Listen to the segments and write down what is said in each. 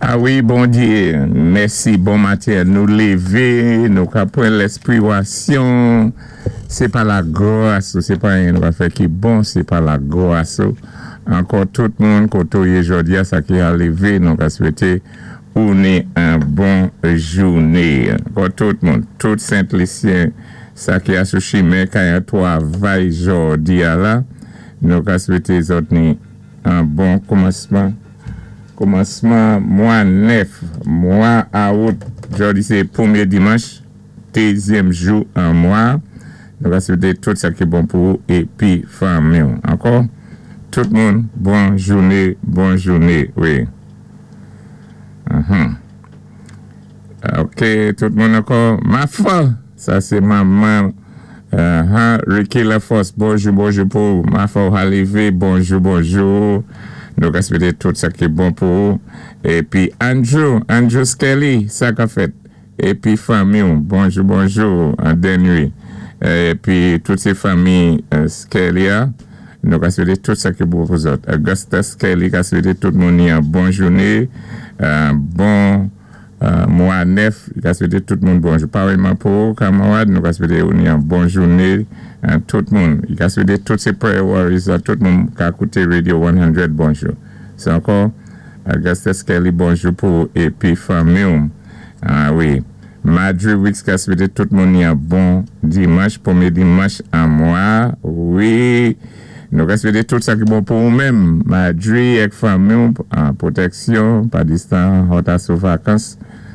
A wi, Bondyé, mèsi, bon maten. Nou lévé, nou ka pran lèspirasyon. Sé pa lagras ou, sé pa anyen nou ka fè ki bon, sé pa lagras ou. Ankò tout moun koté ou yé jòdi a, sa ki a lévé, nou ka swété ou ni an bon jouné. Ankò tout moun, tout Sent Lisyen, sa ki a sou chimen kay an twavay jòdi a la, nou ka swété zòt ni an bon koumansman. Koumansman mwa 9, mwa Awout, jòdi sé pwémyé dimanch, dézyèm jou an mwa. Nou ka swété tout sa ki bon pou ou épi fanmi-w. Ankò, tout moun, bon jouné, bon jouné, wi. Ok, tout moun ankò, Mafa! Sa sé manman Ricky Laforce, bonjou, bonjou pou ou. Mafa ou Halivé, bonjou, bonjou. Nou ka swété tout sa ki bon pou ou. Épi Andrew, Andrew Skelly, sa ka fèt? Épi fanmi-w, bonjou, bonjou, an Dennery. Épi tout sé fanmi Skelly a, nou ka swété tout sa ki bon pou zòt. Augusta Skelly ka swété tout moun ni an bon jouné, bon mwa 9, li ka swété tout moun bonjou. Parèyman pou ou, kamarad, nou ka swété ou ni an bon jouné, tout moun. Li ka swété tout sé prayer warriors la, tout moun ka kouté Radio 100 bonjou. Sé ankò, Augusta Skelly bonjou pou ou épi fanmi-w. A wi. Madry Weeks ka swété tout moun ni an bon dimanch, pwémyé dimanch an mwa. Wi. Nou ka swété tout sa ki bon pou ou menm, Madry ak fanmi-w, an pwotèksyon, pa distan, zòt a sou vakans,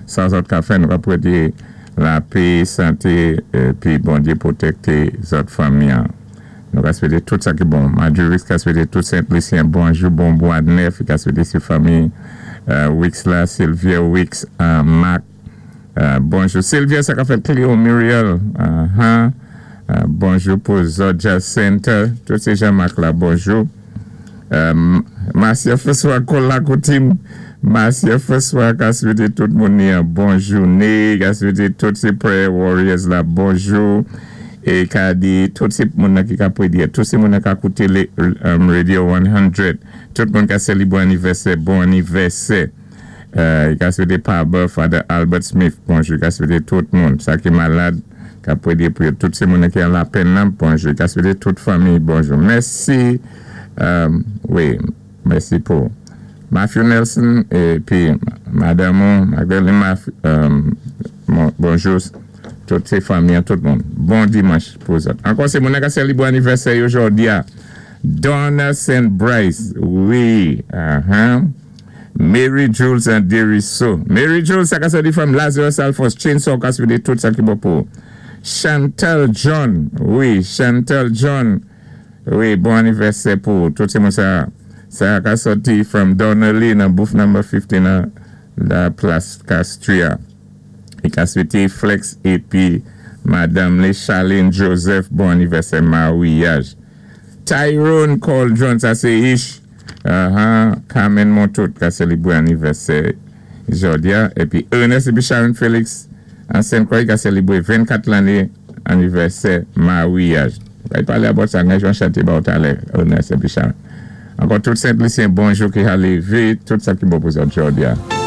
sa zòt ka fè, nou ka pwété lapé, santé, épi Bondyé pwotèkté zòt fanmi an. Nou ka swété tout sa ki bon. Madry Weeks ka swété tout Sent Lisyen bonjou, bon mwa 9, li ka swété sé fanmi Weeks la, Sylvia Weeks, Marc, bonjou Sylvia, sa ka fèt Cléo Muriel, bonjou pou zòt Jacinta, tout sé Jean-Marc la, bonjou. Marcia François Kola Koutim, Marcia François ka swété tout moun ni an bon jouné, ka swété tout sé prayer warriors la bonjou, é ka di tout sé moun nan ki ka prédiyé, tout sé moun nan ka kouté Radio 100, tout moun ka sélibwé anivèsè, bon anivèsè. Li ka swété Pabè Father Albert Smith bonjou, li ka swété tout moun, sa ki malad, ka pwédyé pou yo, tout sé moun nan ki an lapenn nan bonjou, li ka swété tout fanmi bonjou. Mèsi, wi, mèsi pou Matthew Nelson épi madanm ou Magdalene Matthew, bonjou tout sé fanmi an, tout moun. Bon dimanch pou zòt. Ankò sé moun nan ka sèlibre anivèsè yo jòdi a, Donna Saint Bryce, wi, ahan. Mary Jules and Deriso. Mary Jules sa ka sòti from Lazarus Alphonse Chainsaw ka swete tout sa ki bon pou ou. Chantal John wi Chantal John wi bon anivèsè pou ou tout se moun sa sa ka sòti from Donnelly nan booth number 15 nan la plas Castria. Li ka swete Flex epi madanm li Charlene Joseph bon anivèsè maryaj. Tyrone Cauldron sa se Ish Ahaa Carmen Montout ka selebre anivèsè jodi a epi Ernest epi Sharon Felix an Sen Croix ka selebre 24 lane anivèsè maryaj. Nou pral pale about sa nan jan chante ba w talè Ernest epi Sharon. Ankò tout Sent Lisyen bonjou ki ha leve tout sa ki bon pou zòt jodi a.